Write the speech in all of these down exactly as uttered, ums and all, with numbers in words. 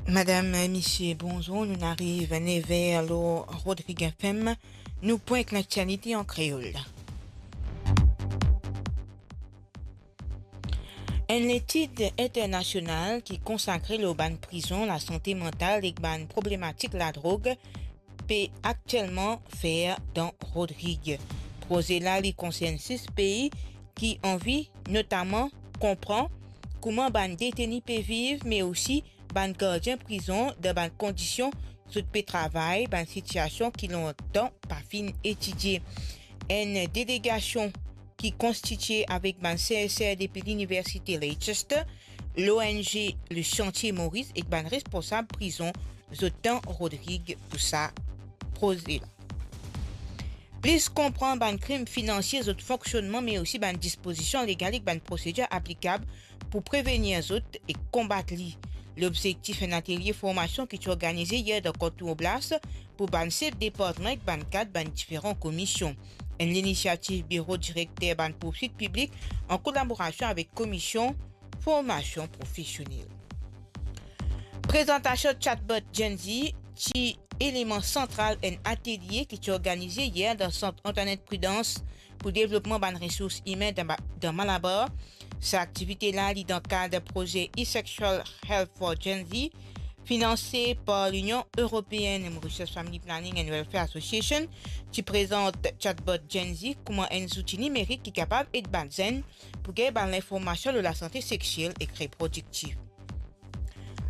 Madam, misie, bonzour. Nou'nn ariv nev er lor Rodrig F M. Nou pwint laktialite an kreol. Enn letid internasional ki konsakre lor bann prizon, lasante mantal ek bann problematik ladrog pe aktielman fer dan Rodrig. Proze la, li konsern sis pei ki anvi notaman konpran kouma bann deteni pe viv, me osi bann gardien prizon dan bann kondision zot pe travay, bann sitiasion ki lontan pa finn etidie. Enn delegasion ki konstitie avek bann serser depi Liniversite Leicester, l'O N G Le Chantier Maurice ek bann responsab prizon zot dan Rodrig pou sa proze la. Plis konpran bann krim finansie, zot fonksionnman, me osi bann dispozision legal ek bann prosedir aplikab pou prevenir zot ek konbat li. Lobzektif enn atelie formasion ki ti organize yer dan Kanton Oblast pou bann sef departman ek bann kad bann diferan komisyon. Enn linisiativ Biro Direkter bann Pourswit Piblik an kolaborasion avek Komisyon Formasion Profesionel. Prezantasion chatbot Gen Z ti eleman santral enn atelie ki ti organize yer dan Sant Antoinette Prudence pou devlopman bann resours imin dan, dan Malabar. Sa aktivite la, li dan kad proze E-Sexual Health for Gen Z, finanse par Linion Eropeenn. Mauritius Family Planning and Welfare Association ti prezant chatbot Gen Z kouma enn zouti nimerik ki kapav ed bann zenn pou gagn bann linformasion lor lasante sexiel ek reprodiktif.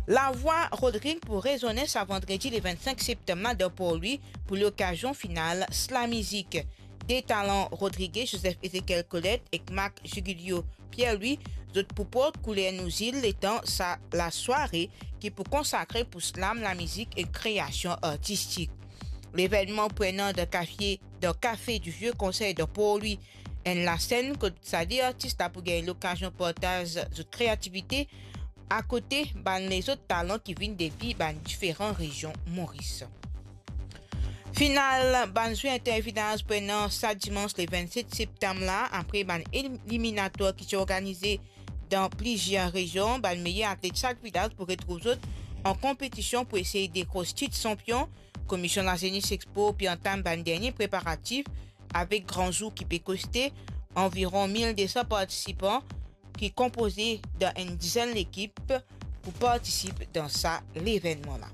Lavwa Rodrig pou rezone sa vandredi le vennsenk septanm la dan Port Louis pou lokazion final Slam Mizik. De talan Rodrige, Joseph Ezekiel Colette ek Marc Jugulio Pierre-Louis, zot pou port kouler nou zil letan sa lasware ki pou konsakre pou slam, lamizik ek kreasion artistik. Levennman pou ena dan kafie, dan Café du Vieux Conseil dan Port Louis, enn lasenn kot sa de artis la pou gagn lokazion partaz zot kreativite akote bann lezot talan ki vinn depi bann diferan rezion Moris. Final bann zwe intervilaz pou ena sa dimans le vennset septanm la, apre bann eliminatwar ki ti organize dan plizier rezion. Bann meyer atlet sak vilaz pou retrouv zot an konpetision pou esey dekros tit sanpion. Komisyon Lazenes Expo pe antam bann dernie preparatif avek gran zour ki pe koste anviron mil de san partisipan ki konpoze dan enn dizenn lekip pou partisip dan sa levennman la.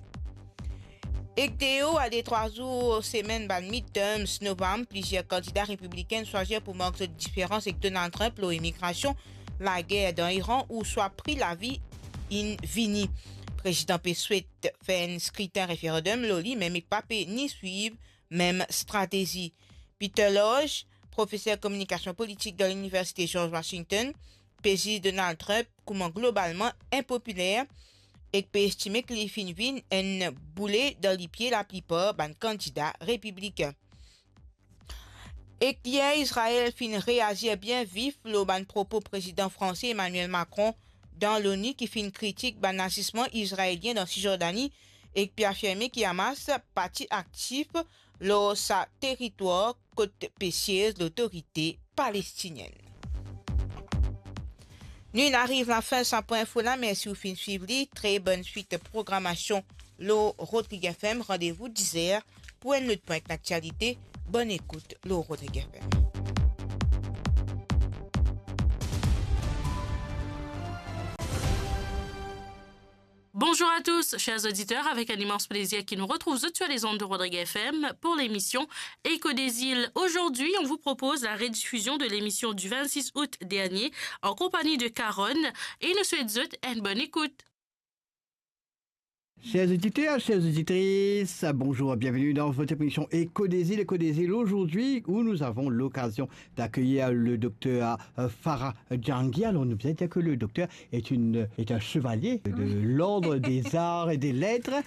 Ek deor a de trwa zour semenn bann midterms novanm, plizier kandida repibliken swazir pou mark zot diferans ek Donald Trump lor imigrasion, lager dan Iran ouswa pri lavi inn vini. Prezidan pe swet fer enn skritin referandom lor li, me pa pe ni swiv mem stratezi. Peter Lorge, profeser kominikasion politik dan Liniversite George Washington, pe ziz Donald Trump kouma globalman inpopiler ek pe estime ki li finn vinn enn boule dan lipie laplipar bann kandida repibliken. Ek yer, Izrael finn reazir bien vif lor bann propo prezidan franse Emmanuel Macron dan l'ONU, ki finn kritik bann azisman izraelien dan Sisjordani ek pe afirme ki Hamas pa ti aktif lor sa teritwar kot pe siez Lotorite Palestinienn. Nou inn ariv lafin sa pwin info la, mersi ou finn swiv li. Tre bonn swit programasion lor Rodrig F M. Randevou diz er pou enn lot pwin laktialite. Bonn ekout lor Rodrig F M. Bonjour à tous, chers auditeurs, avec un immense plaisir que nous retrouvons sur les ondes de Rodrig F M pour l'émission Écho des Îles. Aujourd'hui, on vous propose la rediffusion de l'émission du vingt-six août dernier en compagnie de Caronne et nous souhaitons une bonne écoute. Chers auditeurs, chères auditrices, bonjour, bienvenue dans votre émission Écho des Îles. Écho des Îles aujourd'hui, où nous avons l'occasion d'accueillir le docteur, euh, Farah Djangui. Alors, on nous vient de dire que le docteur est une, est un chevalier de l'ordre des arts et des lettres.